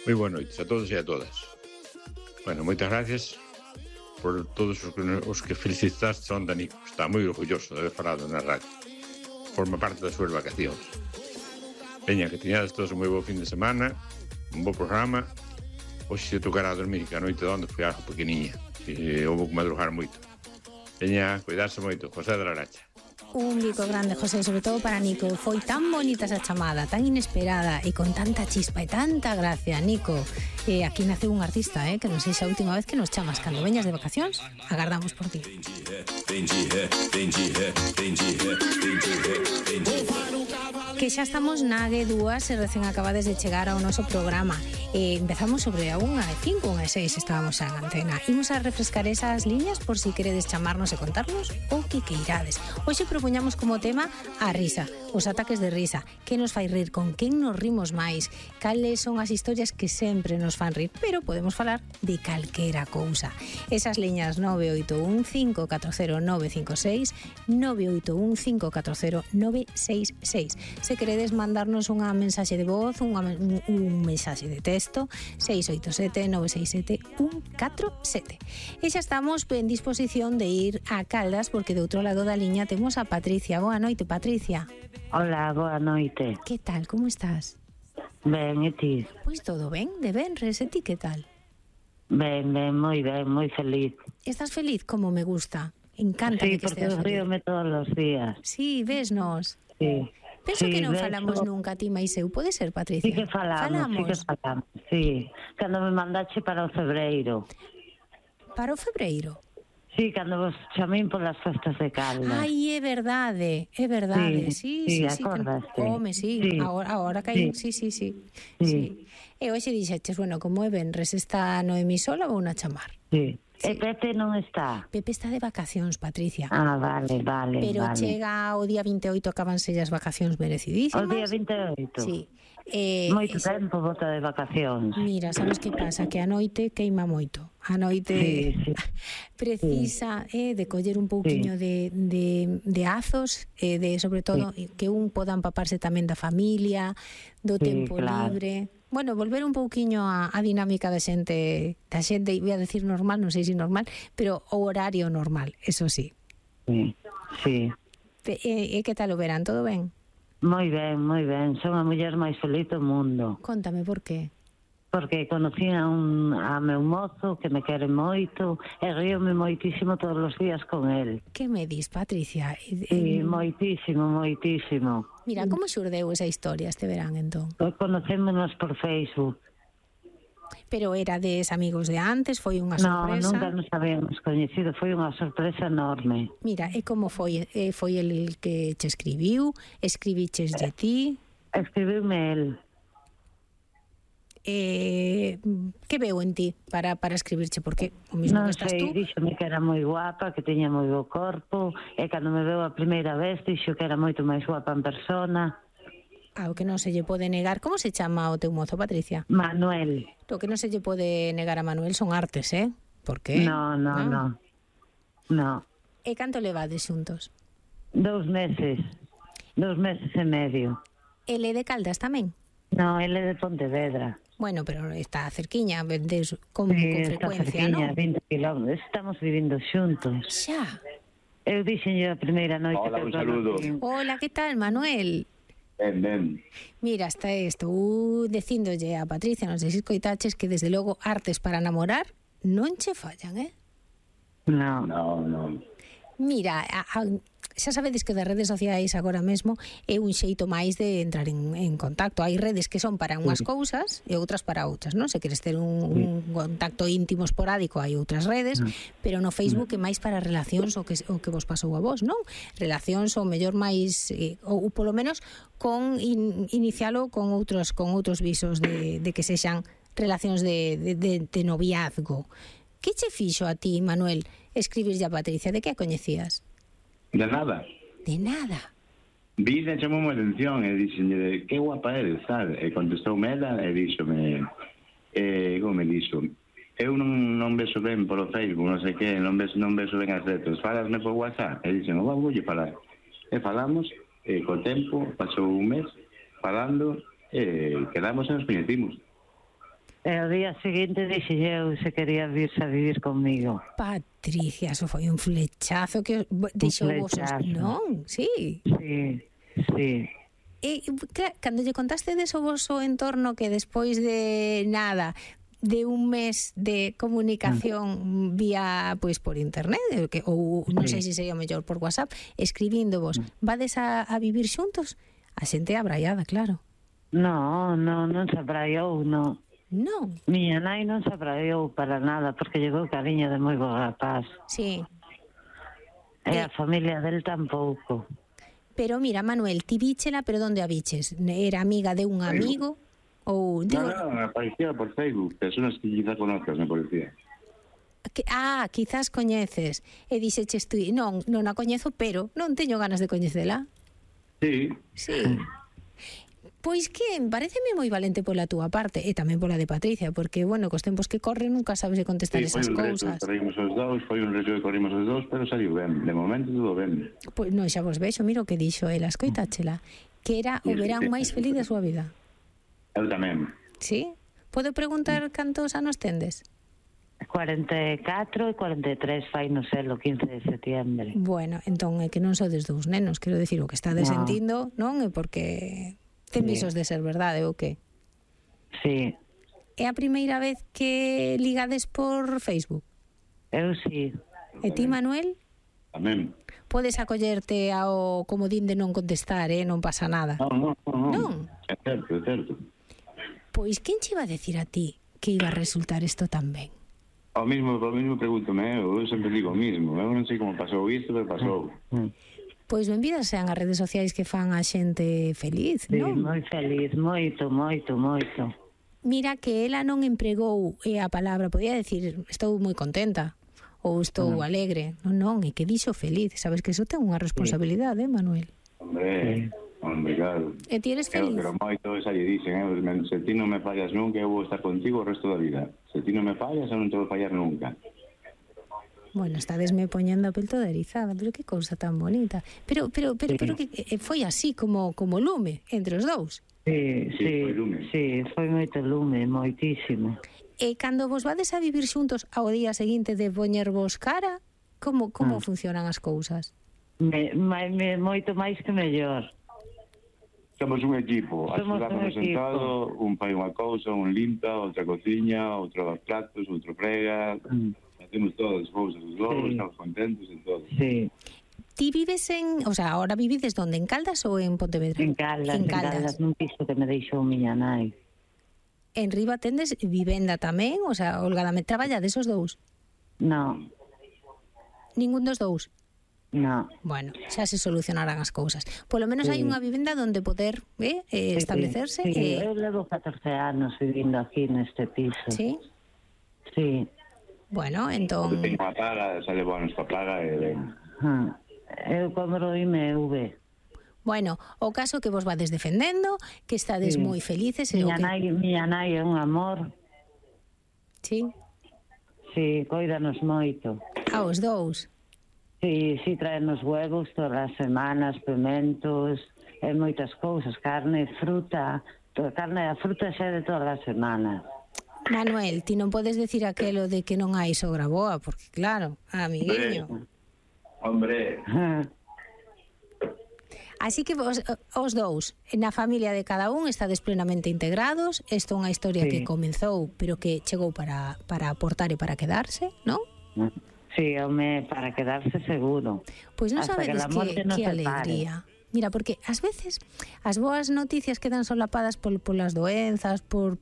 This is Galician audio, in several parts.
Moi boa noites a todos e a todas. Bueno, moitas gracias por todos os que felicitaste onde, Nico. Está moi orgulloso de haber falado na radio. Forma parte das súas vacacións. Veña, que teñades todos un moi bo fin de semana, un bo programa. Hoxe se tocará a dormir, que a noite de onde foi algo pequeniña. E houve que madrugar moito. Veña, cuidarse moito. José de la Aracha. Un bico grande, José, sobre todo para Nico. Foi tan bonita esa chamada, tan inesperada e con tanta chispa e tanta gracia, Nico. Aquí nace un artista, que non sei se a última vez que nos chamas cando veñas de vacacións. Agardamos por ti. Que xa estamos na G2 e recén acabades de chegar ao noso programa. Empezamos sobre a 1:05, 1:06 estábamos en antena. Imos a refrescar esas liñas por si queredes chamarnos e contarnos o que queirades. Hoxe propoñamos como tema a risa, os ataques de risa, que nos fai rir, con quen nos rimos máis, cales son as historias que sempre nos fan rir, pero podemos falar de calquera cousa. Esas liñas 981540956, 981540966. Se queredes mandarnos unha mensaxe de voz, un mensaxe de texto, 687-967-147. E xa estamos en disposición de ir a Caldas, porque de outro lado da liña temos a Patricia. Boa noite, Patricia. Hola, boa noite. Que tal, como estás? Ben, e ti? Pois todo ben, de venres, e ti que tal? Ben, moi feliz. Estás feliz como me gusta? Encanta que estés feliz. Sí, porque ríome todos os días. Sí, vesnos. Sí. Penso que non falamos nunca ti máis eu, pode ser, Patricia? Sí que falamos. Sí, cando me mandache para o febreiro. Para o febreiro? Sí, cando vos chamín polas festas de Caldas. Ai, é verdade. Sí, acordaste. Home, sí, agora que sí. E hoxe dixeches, bueno, como é venres, está Noemí sola ou na chamar? Sí. E Pepe non está? Pepe está de vacacións, Patricia. Ah, vale. Pero chega o día 28, acabanse as vacacións merecidísimas. O día 28? Sí. Moito tempo bota de vacacións. Mira, sabes que pasa? Que a noite queima moito. A noite precisa de coller un pouquiño de azos, de sobre todo que un poda empaparse tamén da familia, do tempo libre. Bueno, volver un pouquiño a dinámica da xente, voy a decir normal, non sei se normal, pero o horario normal, eso sí. Sí. E que tal o verán, todo ben? Moi ben. Son a muller máis feliz do mundo. Contame, por qué? Porque conocí a meu mozo que me quere moito e ríome moitísimo todos os días con el. Que me dis, Patricia? Sí, moitísimo. Mira, como xurdeu esa historia este verán, entón? Conocémonos por Facebook. Pero erades amigos de antes? Foi unha sorpresa? Non, nunca nos habíamos coñecido, foi unha sorpresa enorme. Mira, e como foi? Foi el que che escribiu? Escribiches de ti? Escribiume el. Que veu en ti para escribirche? Porque o mismo que estás tú. Non sei, díxome que era moi guapa, que teña moi bo corpo, e cando me veu a primeira vez dixo que era moito máis guapa en persona. O que non se lle pode negar. Como se chama o teu mozo, Patricia? Manuel. O que non se lle pode negar a Manuel son artes, Por qué? No. E canto levades xuntos? 2 meses. 2 meses e medio. Ele de Caldas tamén? No, ele de Pontevedra. Bueno, pero está cerquiña, vendes con frecuencia, non? Sí, está cerquiña, 20 kilómetros. Estamos vivindo xuntos. Xa. Eu dixenlle a primeira noite. Hola, un saludo. Hola, que tal, Manuel? Ben. Mira, estou dicíndolle a Patricia, non sei se escoitaches, que desde logo artes para namorar non che fallan, No. Mira, xa sabedes que das redes sociais agora mesmo é un xeito máis de entrar en contacto. Hai redes que son para unhas cousas e outras para outras, non? Se queres ter un contacto íntimo esporádico, hai outras redes, pero no Facebook é máis para relacións o que vos pasou a vos, non? Relacións o mellor máis, ou polo menos con inicialo con outros visos de que sexan relacións de noviazgo. Que che fixo a ti, Manuel, escribirlle a Patricia? De que a coñecías? De nada. Vine, chamou a atención e dixenlle que guapa eres, tal. E contestoume ela e díxome, como me dixo, eu non vexo ben polo Facebook, non sei que, non vexo ben as letras, falasme por WhatsApp. E dixen, voulle falar. E falamos, e co tempo, pasou un mes, falando, e quedamos e nos coñecimos. E o día seguinte dixen eu se quería virse a vivir conmigo. Patricia, eso foi un flechazo que deixou vos... Non, sí. Sí, sí. E cando lle contaste deso vosso entorno que despois de nada, de un mes de comunicación vía, pois, por internet, ou non sei se sería mellor por WhatsApp, escribíndovos, vades a vivir xuntos? A xente abraiada, claro. Non se abraiou, non. Non. Miña nai non se abraiou para nada, porque llegou cariño de moi bo rapaz. Sí. E a familia del tampouco. Pero mira, Manuel, ti víchela, pero onde a viches? Era amiga de un amigo? Ou... No, aparecía por Facebook, personas que quizá conozcas, me parecía. Quizás coñeces. E dixeches tú, non a coñezo, pero non teño ganas de coñecela. Sí. Sí. Pois que pareceme moi valente pola túa parte e tamén pola de Patricia, porque, bueno, cos tempos que corren nunca sabes de contestar esas cousas. Foi un reto que corrimos os dous, pero saliu ben. De momento todo ben. Pois non, xa vos vexo, miro o que dixo ela, escoitáchela, que era o verán máis feliz da súa vida. Eu tamén. Sí? Podo preguntar cantos anos tendes? 44 e 43 fai no sé, o 15 de setiembre. Bueno, entón é que non sodes dous nenos, quero dicir, o que estades sentindo, non é porque ten visos de ser verdade ou que? Sí. É a primeira vez que ligades por Facebook? Eu sí. E ti, Manuel? Tamén. Podes acollerte ao comodín de non contestar, non pasa nada. Non. É certo. Pois, quen che iba a decir a ti que iba a resultar isto tan ben? O mismo pregúntome, eu sempre digo o mismo. Eu non sei como pasou isto, pero pasou. Pois benvidas sean as redes sociais que fan a xente feliz, non? Sí, moi feliz, moito. Mira que ela non empregou a palabra, podía decir, estou moi contenta, ou estou alegre. Non, é que dixo feliz. Sabes que iso ten unha responsabilidade, Manuel? Hombre, claro. E ti eres feliz? Pero moito esa lle dicen, se ti non me fallas nunca, eu vou estar contigo o resto da vida. Se ti non me fallas, eu non te vou fallar nunca. Bueno, estadesme poñendo a pel toda erizada, pero que cousa tan bonita. Pero que foi así como lume entre os dous. Sí, foi lume. Sí, foi moito lume, moitísimo. E cando vos vades a vivir xuntos ao día seguinte de poñervos cara, como funcionan as cousas? Moito máis que mellor. Somos un equipo, axudámonos en todo, un fai unha cousa, un limpa, outra cociña, outro lava platos, outro frega, facemos todas as cousas, os lobos, estamos contentos e todo. Sí. Ti vives ahora vivides onde, en Caldas ou en Pontevedra? En Caldas, nun piso que me deixou miña nai. En Riba tendes vivenda tamén? O sea, holgadamente traballades os dous? Non. Ningún dos dous? Non. Bueno, xa se solucionarán as cousas. Polo menos hai unha vivenda onde poder establecerse. Sí, eu levo 14 anos vivindo aquí neste piso. Sí? Sí. Bueno, entón... Teño unha paga, sale boa nuestra paga e ben. Eu cobro IMV. Bueno, o caso que vos vades defendendo, que estades moi felices... Miña nai é un amor. Sí? Sí, coídanos moito. Os dous? Sí, traenos huevos todas as semanas, pimentos, e moitas cousas, carne, fruta. Carne e fruta xa de todas as semanas. Manuel, ti non podes decir aquelo de que non hai sogra boa, porque claro, amiguinho. Hombre. Así que os dous, na familia de cada un, estades plenamente integrados. Isto é unha historia que comenzou, pero que chegou para aportar e para quedarse, non? Sí, home, para quedarse seguro. Pois non sabedes que alegría. Mira, porque ás veces as boas noticias quedan solapadas polas doenzas, por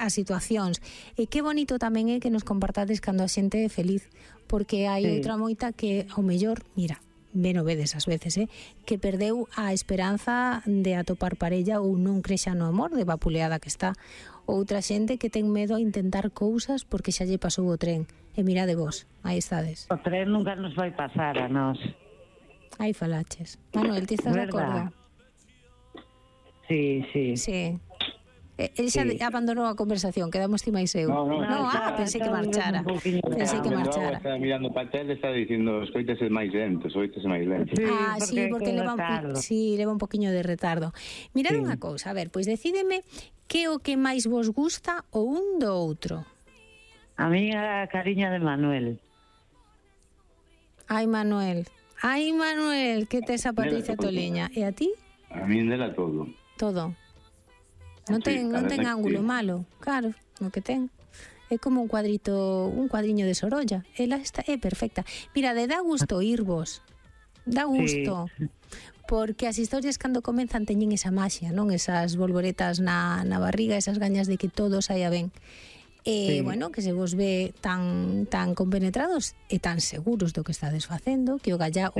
as situacións. E que bonito tamén é que nos compartades cando a xente é feliz, porque hai outra moita que, ao mellor, mira, ben o vedes ás veces, que perdeu a esperanza de atopar parella ou non crexa no amor, de vapuleada que está. Outra xente que ten medo a intentar cousas porque xa lle pasou o tren. E mirade vos, aí estades. O tren nunca nos vai pasar a nós. Aí falaches. Manuel, ti estás de acordo? Sí. Sí. El xa abandonou a conversación, quedamos ti máis eu. No, pensei que marchara. Pensei que marchara. Está mirando para a tele, está dicindo, escoítese máis lento. Sí, porque leva un poquinho de retardo. Mirad unha cousa, a ver, pois decídeme que o que máis vos gusta o un do outro. A mí a cariña de Manuel. Ai, Manuel, que tes a Patricia Toliña. E a ti? A mí dela todo. Todo. Non ten ángulo malo, claro, o que ten. É como un cuadriño de Sorolla. Ela é perfecta. Mira, dá gusto oírvos. Dá gusto. Sí. Porque as historias cando comenzan teñen esa maxia, non? Esas bolboretas na barriga, esas gañas de que todo saia ben. Bueno, que se vos ve tan compenetrados e tan seguros do que estades facendo, que o galla,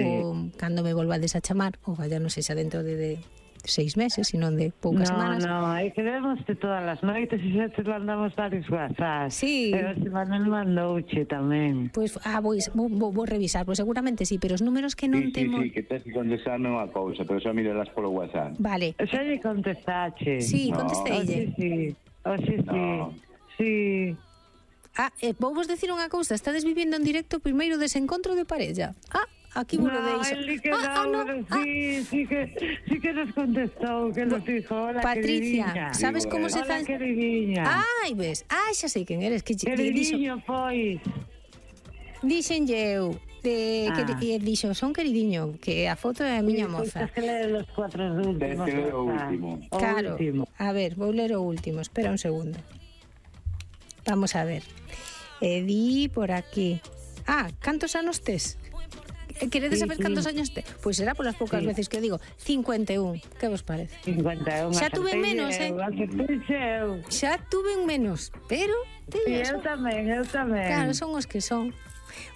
cando me volvades a chamar, o galla non sei xa dentro de 6 meses, sino de poucas semanas. No, é que vemos-te todas as noites e xa te mandamos varios WhatsApp. Sí. Pero se Manuel mandouche tamén. Pois, vou revisar, pois seguramente sí, pero os números que non temos... Sí, que tes que contestarme unha cousa, pero xa mirelas polo WhatsApp. Vale. Xa lle contestache. Sí, contesteille. Sí. Vou vos decir unha cousa, estades vivindo en directo o primeiro desencontro de parella. Aquí vos lo deixo. Sí que nos contestou, que nos dijo, hola, Patricia, queridinha. sabes como se Hola, faz? queridinha. Ai, ves, xa sei quen eres, que Queridinho, pois. Dixenlle eu, dixo, son queridiño, que a foto é a miña moza. Tens que ler os 4 últimos. Tens que ler o último. Claro, a ver, vou ler o último, espera un segundo. Vamos a ver. Di por aquí. Cantos anos tes? Queredes saber cantos años tes? Pois será polas poucas veces que digo 51, que vos parece? 51. Xa tuve menos, xa tuve menos, pero eu tamén. Claro, son os que son.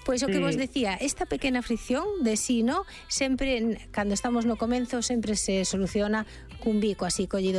Pois o que vos decía, esta pequena fricción de si, no, sempre, cando estamos no comenzo, sempre se soluciona cun bico así collido